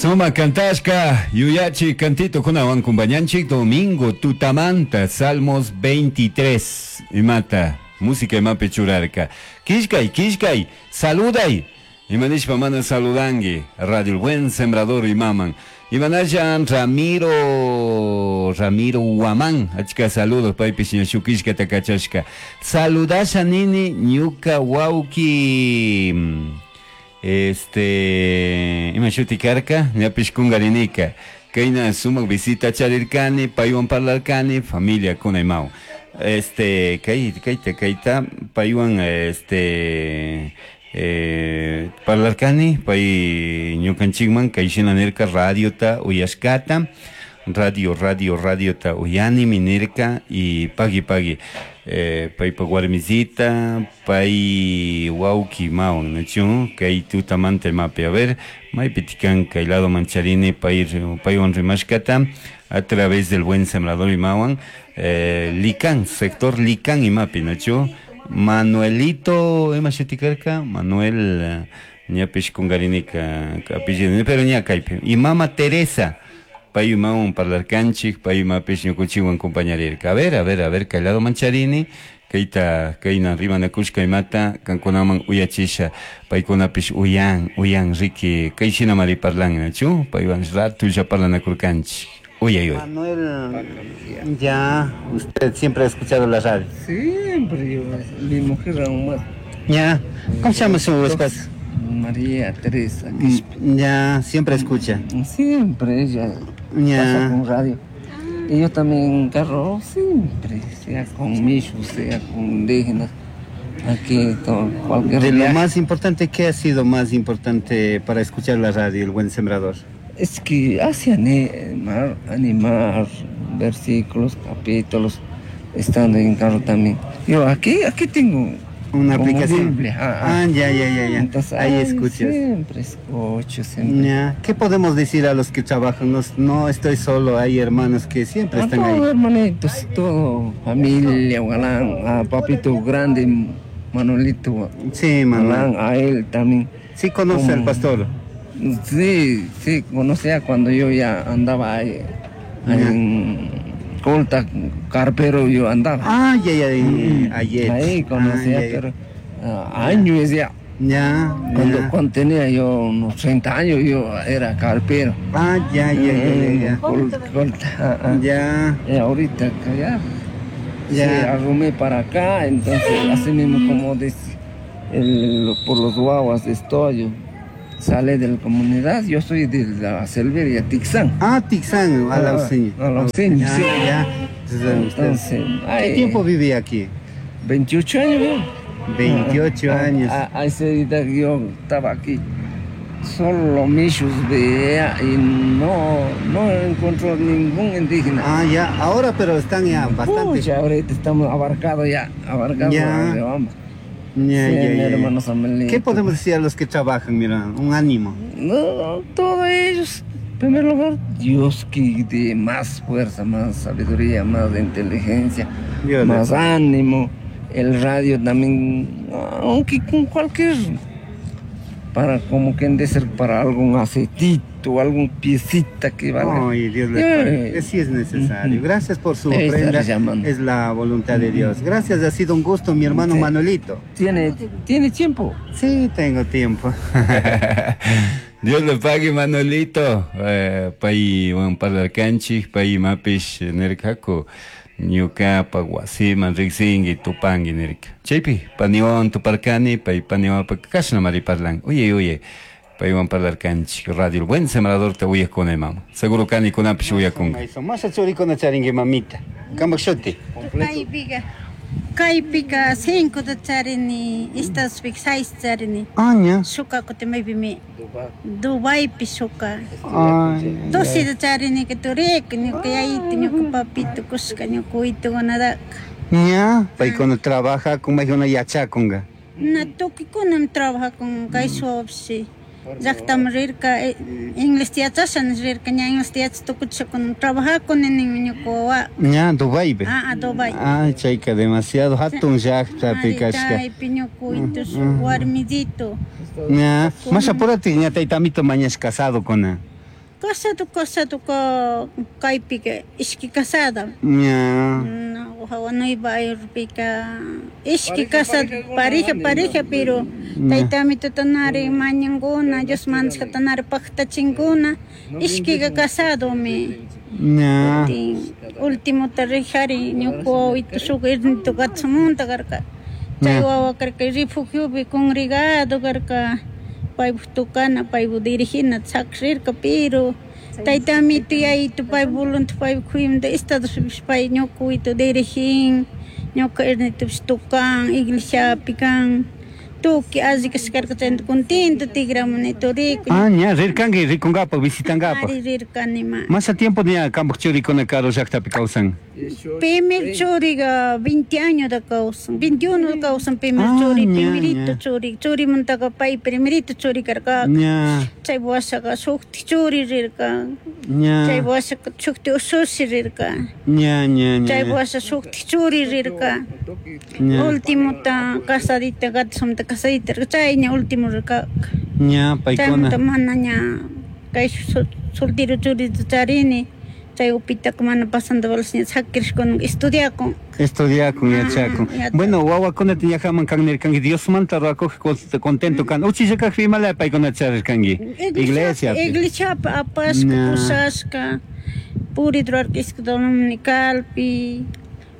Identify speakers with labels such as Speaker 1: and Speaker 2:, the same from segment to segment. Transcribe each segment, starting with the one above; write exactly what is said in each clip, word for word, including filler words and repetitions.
Speaker 1: Suma kantashka yuyachi kantitukunawan kumpañanchik domingo tutamanta Salmos veintitrés imata música imapi churarka. Killkay, killkay, saluday. Imanishpa mana saludangi Radio El Buen Sembrador imaman. Imanallan Ramiro Ramiro Guamán, achka saludos paypish ña shuk killkata kachashka. Saludasha nini ñuka wawki este ima shuti karka ñapish kunkarinika kayna sumak visita charirkani paywan parlarkani familia kuna imawan este kay kayta kayta paywan este eh, parlarkani pay ñukanchikman kayshina nirka radiota uyashkata radio radio radiota uyanimi nirka y pagui pagui eh, paypa warmisita pay wawki imawan nachu kay tutamanta imapi a ver maypi kan kay lado mancharini pay paywan rimashkata a través del Buen Sembrador imawan eh, Licán, sector Licán imapi nachu Manuelito ima shuti karka Manuel ñapish kunkarinika apellido pero ña kaypi y mama Teresa pay imawan parlarkanchik pay imapish ñukunchikwan compañarirka a ver a ver a ver kay lado mancharini kayta kayna rimanakushka imata kankunaman uyachisha paykunapish uyan uyan riki kayshinamari parlan nachu paywan ratulla parlanakurkanchik uyay uy
Speaker 2: Manuel, ya, usted siempre ha escuchado la radio.
Speaker 3: Siempre, yo, mi mujer aún más.
Speaker 2: Ya, ¿cómo se llama su esposa?
Speaker 3: María Teresa Quispe.
Speaker 2: Ya, siempre escucha.
Speaker 3: Siempre ella
Speaker 2: Ya.
Speaker 3: pasa con radio. Y yo también en carro, siempre, sea con mishus, sea con indígenas, aquí, todo, cualquier
Speaker 2: De lo
Speaker 3: viaje.
Speaker 2: más importante, ¿qué ha sido más importante para escuchar la radio, El Buen Sembrador?
Speaker 3: Es que hace animar, animar versículos, capítulos, estando en carro también. Yo aquí, aquí tengo
Speaker 2: una
Speaker 3: como
Speaker 2: aplicación.
Speaker 3: Biblia. Ah,
Speaker 2: Ah, ya, ya, ya, ya.
Speaker 3: Entonces,
Speaker 2: ahí
Speaker 3: ay,
Speaker 2: escuchas.
Speaker 3: Siempre escucho, siempre.
Speaker 2: Ya. ¿Qué podemos decir a los que trabajan? No, no estoy solo, hay hermanos que siempre
Speaker 3: A
Speaker 2: están
Speaker 3: todos,
Speaker 2: ahí.
Speaker 3: hermanitos, todo, familia, galán, a papito grande, Manuelito.
Speaker 2: Sí, Manuel.
Speaker 3: Galán, a él también.
Speaker 2: Sí conoce al
Speaker 3: Como-
Speaker 2: pastor.
Speaker 3: Sí, sí, conocía cuando yo ya andaba ahí, ahí en Colta, carpero yo andaba.
Speaker 2: Ah, ya, ya, ya, ayer.
Speaker 3: Ahí conocía,
Speaker 2: Ah, ya, ya.
Speaker 3: pero ah, años ya.
Speaker 2: Ya,
Speaker 3: Cuando,
Speaker 2: ya.
Speaker 3: cuando tenía yo unos treinta años, yo era carpero.
Speaker 2: Ah, ya, ya, ya, ya, ya.
Speaker 3: Col- Colta, ah, ah.
Speaker 2: Ya.
Speaker 3: Y ahorita que ya.
Speaker 2: Ya.
Speaker 3: Sí, arrumé para acá, entonces así mismo como dice, el, por los guaguas estoy, yo sale de la comunidad, yo soy de la Selveria, Tixán.
Speaker 2: Ah, Tixán, a la
Speaker 3: Ah,
Speaker 2: Auseño.
Speaker 3: a la Auseño,
Speaker 2: Ya,
Speaker 3: sí.
Speaker 2: ya. Entonces,
Speaker 3: Entonces,
Speaker 2: ¿qué
Speaker 3: ay,
Speaker 2: tiempo vivía aquí?
Speaker 3: veintiocho años, ¿no?
Speaker 2: veintiocho
Speaker 3: Ah,
Speaker 2: años.
Speaker 3: ah, a esa edad yo estaba aquí. Solo michos veía y no, no encontró ningún indígena.
Speaker 2: Ah, ya, ahora pero están ya bastante.
Speaker 3: Pucha, ahorita estamos abarcados ya, abarcados.
Speaker 2: Ya.
Speaker 3: Ya. Vamos.
Speaker 2: Ya,
Speaker 3: Sí,
Speaker 2: ya,
Speaker 3: mi
Speaker 2: ya, ya.
Speaker 3: hermano Samuelito.
Speaker 2: ¿Qué podemos decir a los que trabajan? Mira, un ánimo.
Speaker 3: No, todos ellos, en primer lugar, Dios que dé más fuerza, más sabiduría, más inteligencia,
Speaker 2: Dios
Speaker 3: más
Speaker 2: le-
Speaker 3: ánimo. El radio también, aunque con cualquier, para como que de ser para algún aceitito, algún piecita que valga.
Speaker 2: Ay, Dios le
Speaker 3: Eh.
Speaker 2: pague. Sí es necesario.
Speaker 3: Ujú.
Speaker 2: Gracias por su
Speaker 3: Ahí está
Speaker 2: ofrenda.
Speaker 3: llamando.
Speaker 2: Es la voluntad de Dios. Gracias, ha sido un gusto, mi hermano
Speaker 3: Sí.
Speaker 2: Manuelito.
Speaker 3: ¿Tiene, ¿Tiene tiempo?
Speaker 2: Sí, tengo tiempo.
Speaker 1: Dios le pague, Manuelito. Eh, pay wan parlarkanchik, pay imapish nirkaku. Ñuka wasiman riqsinki tupanki nirka. Chaypi paniwan tuparkani, pay paniwapa kashnamari parlan. Uye, uye. Paywan parlarkanchik. Radio El Buen Sembrador te uyakuna imama. Seguro kani kunapish uyakunka.
Speaker 2: Masha churikuna charinki mamita. Kamak shuti.
Speaker 4: Kaypika, kaypika cinco ta charini, Estados seis charini.
Speaker 2: Ah, ña.
Speaker 4: Shuka kuti maypimi Dubaipi shuka.
Speaker 2: Ay.
Speaker 4: Doce ta charini que turika, ñuka yayito, ñuka papito, kushka, ñuka uytukunataka.
Speaker 2: Ña, paykuna trabajakun, maykuna yachakunka.
Speaker 4: Na tukuy trabajakun kay suwapsi. Llaqtaman rirka, inglés yachasha rirka, ña inglés yachas tukuchakun trabajakuni ninmi ñuka wawa.
Speaker 2: Ña, Dubaipi.
Speaker 4: Ah, ah, Dubai.
Speaker 2: Ay, chayka demasiado hatun llaqtapi kashka.
Speaker 4: Chaypi ñuka uytu warmidito.
Speaker 2: Ña, masha purati ña taytamito mañash casado kuna.
Speaker 4: Casado, casado ka kaypika ishki casada.
Speaker 1: Ña.
Speaker 4: No, Nueva Yorkpika ishki casado pareja pareja pero taytami tutanari mañankuna Dios mandashkatanari paqtachinkuna ishkika casadomi.
Speaker 1: Ña.
Speaker 4: Ultimota rijari ñuka wawito shuk irnito katsumunta karka. Chay wawa karka refugiopi congregado karka paypuk tukana paypuk dirigina sakrirka pero taytamito yayito pay voluntad paypuk kuyamanta estadospipish pay ñuka wawito dirigin ñuka irnitopish tukan iglesiapi kan tukuy alli kashkarka chaymanta contento tikramuni turiku.
Speaker 1: Ah, ña rirkanki rikunkapak visitankapak.
Speaker 4: Ari rirkani ma.
Speaker 1: Masa tiempo ña kampak churikuna karu llaktapi kawsan.
Speaker 4: Primer churiga veinte años da kawsan, veintiuno kawsan primer
Speaker 1: Ah,
Speaker 4: churi,
Speaker 1: ña,
Speaker 4: primerito
Speaker 1: ña.
Speaker 4: churi, churimuntaka pay primerito churi karka.
Speaker 1: Ña.
Speaker 4: Chay washaka shukti churi rirka.
Speaker 1: Ña.
Speaker 4: Chay washaka shukti ushushi rirka.
Speaker 1: Ña, ña, ña.
Speaker 4: Chay washa shukti churi rirka.
Speaker 1: Ña.
Speaker 4: Ultimota casadita gatsumta casadita chay ña último rirka.
Speaker 1: Ña, paykuna.
Speaker 4: Chaymanta mana ña kay soltero churita charini. Chay upitaka mana pasando balas ña sakirishkuna estudiakun.
Speaker 1: Estudiakun, yachakun.
Speaker 4: Ah, yachakun.
Speaker 1: Bueno, wawakunata ñajaman kan nirkanki Diosmanta ruwakuq contento kan. Uchilla kaqpi imalaya paykunata charirkanki. Iglesiapi.
Speaker 4: Iglesiapi apashka,
Speaker 1: Ña.
Speaker 4: pushashka, purid ruwarka escuela dominicalpi,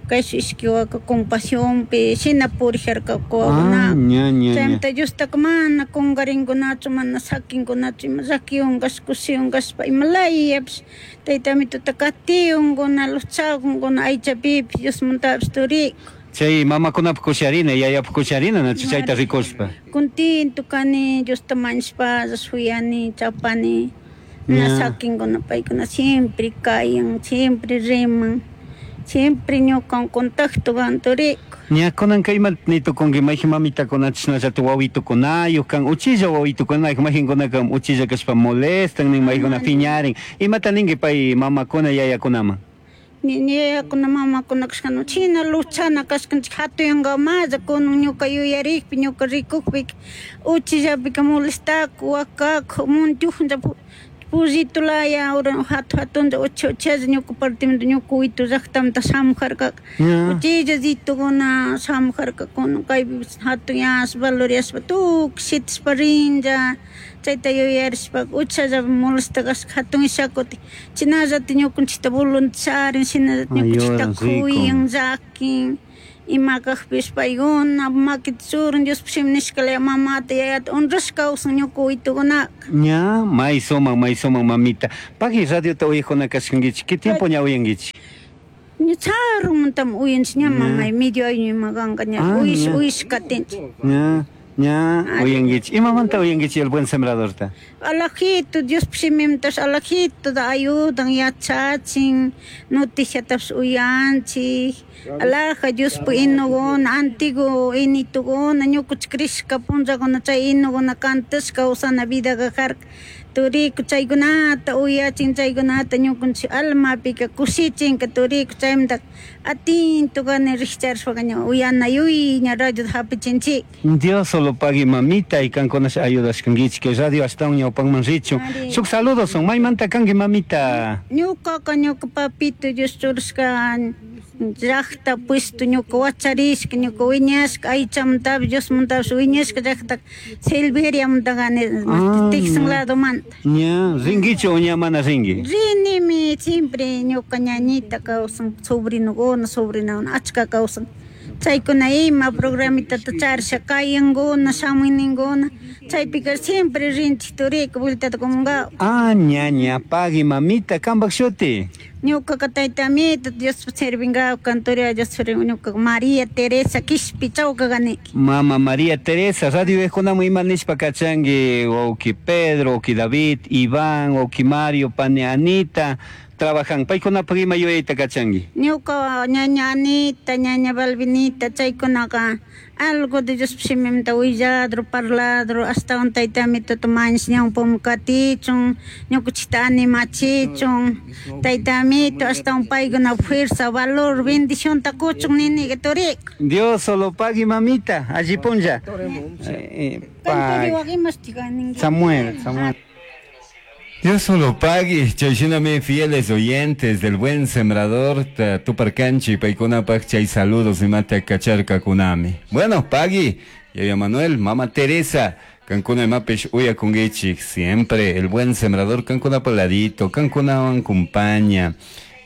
Speaker 4: kay ishki waka compasiónpi, shina purijarka
Speaker 1: Ah,
Speaker 4: wawakunaka.
Speaker 1: ña, ña, ña.
Speaker 4: Chaymanta Diostaka mana kunkarinkunachu, mana sakinkunachu, ima llakiwan kashpa, kushiwan kashpa, imalayapish taytamituta katiunkuna, luchakunkuna, aychapipish, Diosmantapish turiku.
Speaker 1: Chay mamakunapuk kusharina, yayapuk kusharina, nachu chayta rikushpa.
Speaker 4: Contento kani, Diosta mañashpa, shuyani, chapani, na
Speaker 1: Ña.
Speaker 4: sakinkuna paykuna siempre kayan, siempre riman, siempre ñukan contacto kan turiku.
Speaker 1: Ña kunan kayman nitukunki mayqin mamitakuna chashnallata wawitukunayuq kan uchilla wawitukunayuq mayqinkunaka uchilla kashpa molestan nin maykuna phiñarin. Imata ninki pay mamakuna yayakunaman?
Speaker 4: Ni yayakuna mamakuna kashkana china luchana kashkanchik hatuyankamalla kunan ñuka yuyarikpi ñuka rikukpi uchillapika molestaku wakaku muntiujuncha pullito laya ura hatu hatuncha ucha uchalla ñuka partimanta ñuka witu llaktamanta shamujarkaka.
Speaker 1: Ña.
Speaker 4: Uchilla ritukuna shamujarkakuna kaypi hatuyashpa valoriashpa tukuy shitashpa rinlla chayta yuyarishpa uchalla molesta kashka hatun ishakuti chinallata ñukanchikta voluntarin shinallata ñukanchikta
Speaker 1: Ayudan, rico.
Speaker 4: kuyan llakin ima kaqpish paykuna makita churan Diospuk shimi nishkalaya mamata yayata honrashka kawsan ñuka witukunaka.
Speaker 1: Ña, may sumaq, may sumaq mamita. Paqui radiota uyaqkuna kashkankichik, ¿qué tiempo ña uyankichik?
Speaker 4: Ña charumantami uyanchik ña mamay medio año ima kanka ña
Speaker 1: Ah,
Speaker 4: uyish
Speaker 1: ña.
Speaker 4: uyish katinchik.
Speaker 1: Ña, ña, uyankichik. Imamanta uyankichik el buen sembradorta?
Speaker 4: Alajito, Diospuk shimimantash alajito da ayudan yachachin, noticiatapish uyanchik, alaja Diospuk inuguna, antiguo inituguna, ñukanchik crishka punllakuna chay inuguna cantashka kawsana vida karka. Turiku chaykunata uyachin chaykunata ñukanchik almapika kushichinka turiku chaymanta atento kani rikcharishpaka ña uyana yuy ña radiota hapichinchik.
Speaker 1: Dios solo pague mamita y kankunash ayudashkankichik que radio ashtawan ñawpanman richun.
Speaker 4: Ari.
Speaker 1: Shuk saludos son maymanta kanki mamita.
Speaker 4: Ñukaka ñuka papito Dios churashka llakta puesto ñuka wacharishka ñuka wiñashka aychamantapish Diosmantapish wiñashka llakta Silveriamanta kani
Speaker 1: Ah,
Speaker 4: Texas
Speaker 1: ña.
Speaker 4: ladomanta.
Speaker 1: Ña, rinkichu o ña mana rinki?
Speaker 4: Rinimi siempre ñuka ñañita kawsan sobrinokuna sobrinakuna achka kawsan. Chaykuna ima programitata charisha kayankuna shamuyninguna chaypika siempre rinchik turiku vueltata kumunkawa.
Speaker 1: Ah, ña, ña, pagui mamita, kampak shuti.
Speaker 4: Ñukaka taytamito Diospuk servinkapak cantoria Dios servin ñuka María Teresa Quishpi chawka kaniki.
Speaker 1: Mama María Teresa, radio uyaqkunaman ima nishpa kachanki wawqi Pedro, wawqi David, Iván, wawqi Mario, pani Anita, trabajan. Paykunapak ima yuyayta kachanki.
Speaker 4: Ñuka ñaña Anita, ñaña Balvinita, chaykunaka algo de Diospuk shimimanta willadro, parladro, ashtawan taytamituta mañash ñawpaman katichun, ñukanchikta animachichun, taytamito ashtawan paykuna fuerza, valor, bendicionta kuchun niniga turiku.
Speaker 1: Dios solo pagui mamita, alli punlla. Eh, eh,
Speaker 4: Kanturiwak
Speaker 1: pagui.
Speaker 4: imashtik ninki.
Speaker 1: Samuel, Samuel. Dios solo pague, chayshinami fieles oyentes del buen sembrador tuparkanchi paykunapaj chay saludos imata kacharkakunami. Bueno, pagui, Yaya Manuel, Mama Teresa, kankuna imapish uyakunkichik, siempre el buen sembrador kankuna ladito, kankunawan acompaña.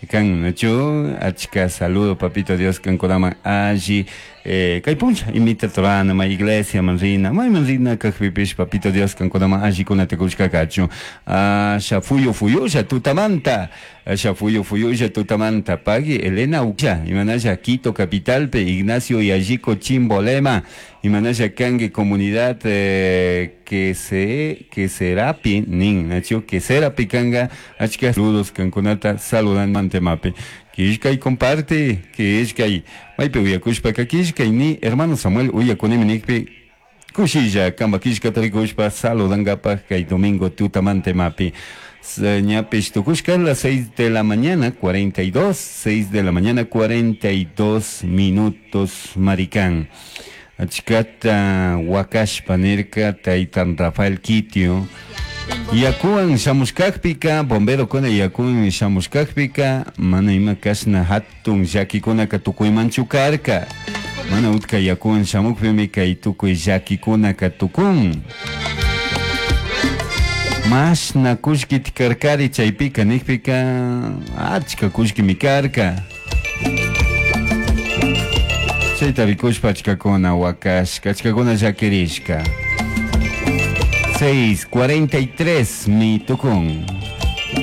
Speaker 1: Kan nachu achka saludo papito Dios kankunaman alli eh, kay puncha imita torana ma iglesia man rina may man rina kajpipish papito Dios kankunaman alli kunata kushka kachu asha fuyu fuyusha tutamanta asha fuyu fuyusha tutamanta pagui Elena Ucha imanasha Quito capitalpe Ignacio Yayico Chimbolema imanasha kangue comunidad eh, que se que serapi nin nachu que serapi kanga achka saludos kankunata saludan mantemape kishkay comparte kishkay maypi uyakushpaka kishkay ni hermano Samuel uyakunimi nikpi kushilla kamba kishkata rikushpa saludankapaj kay domingo tutamantemapi ñapish tukushka las seis de la mañana cuarenta y dos, seis de la mañana cuarenta y dos minutos maricán. Achkata wakashpa nirka taytan Rafael Kitio yakuwan shamushkakpika bomberokuna yakuwan shamushkakpika mana ima kashna hatun llakikunaka tukuymanchu karka mana utka yakuwan shamukpimi kay tukuy llakikunaka tukun mashna kullkita karkari chaypika nikpika achka kullkimi karka chayta rikushpa achkakuna wakashka achkakuna llakirishka seis cuarenta y tres mi tukun.